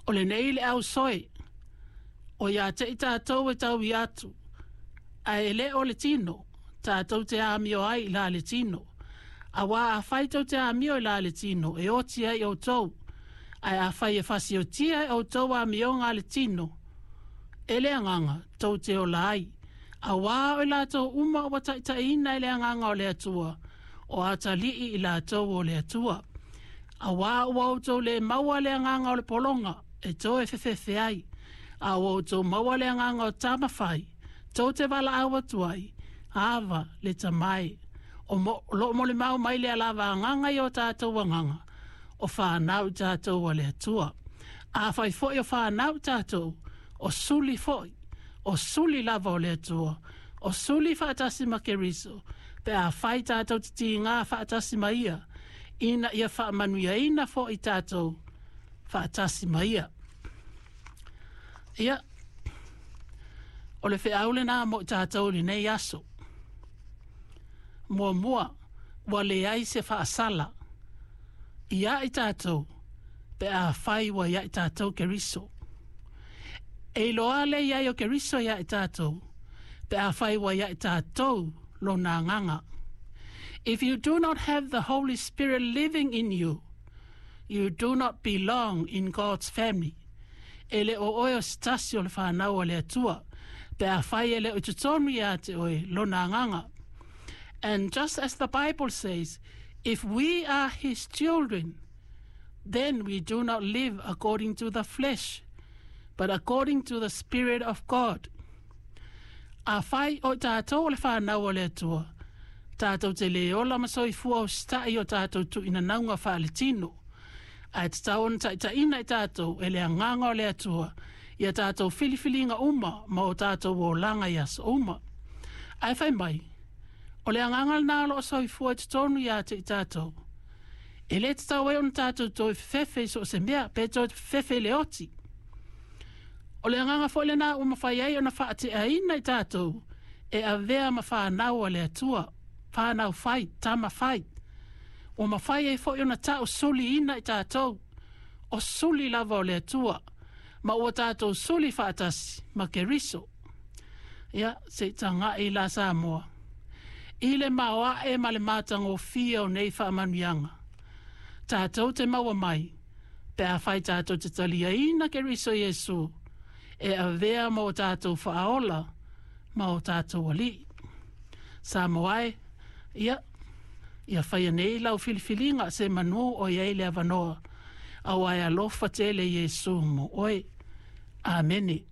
O lenei le ausoe, o ia te i tātou e tau i atu, ae e le o le tino, tātou te amio ai i la le tino. Auā afai tou te amio i la le tino, e oti ai outou, ae afai e fasiotia e outou amioga a le tino, e le agaga tou te ola ai. Auā o i latou uma ua taitaiina e le agaga o le Atua, o atalii i latou o le Atua. Auā ua outou le maua le agaga o le pologa, e toe fefefe ai, a ua outou maua le agaga o tama fai, tou te valaau atu ai, Ava, le Tama e. O mo, loo molimau mai lea lava agaga i o tātou agaga, o whānau tātou a le Atua. Afai foi o whānau tātou, o suli foi, o suli lava o le Atua, o suli faatasi ma Keriso, pe afai tātou te tigā faatasi ma ia, ina ia faamanuiaina foi tātou faatasi ma ia. Ia, o le feau lenā mo tātou lenei aso. Muamua, ua leai se faasala. Ia i tātou, pe afai ua ia i tātou Keriso. E iloa le i ai o Keriso ia i tātou, pe afai ua ia i tātou lona agaga. If you do not have the Holy Spirit living in you, you do not belong in God's family. E le o oe o se tasi o le whānau a le Atua, pe afai e le o i totonu ia te oe lona agaga. And just as the Bible says, if we are his children, then we do not live according to the flesh, but according to the Spirit of God. Afai o tātou o le whānau o le Atua, tātou te le ola ma soifua usitai o tātou tuinanauga faaletino. Ae tatau ona taitaiina i tātou e le agaga o le Atua, ia tātou filifiliga uma ma o tātou olaga i aso uma. Ae fai mai, o le agaga lenā o loo soifua i totonu ia te i tātou. E le tatau ai ona tātou toe fefefe i so o se mea, pe toe fefefe i le oti. O le agaga foi lenā ua mafai ai ona faateaina i tātou e avea ma whānau a le Atua, whānau fai, tama fai. Ua mafai ai foi ona tau suliina i tātou, o suli lava o le Atua, ma ua tātou suli faatasi ma Keriso. Ia, se i tagai la Samoa. I le maoae ma le matagofie o nei faamanuiaga. Tātou te maua mai, pe afai tātou te taliaina Keriso Iesu, e avea ma o tātou faaola ma o tātou alii. Samoa e, ia, ia faia nei lau filifiliga semanu o i ai le avanoa, auā e alofa tele Iesu mo oe. Amene.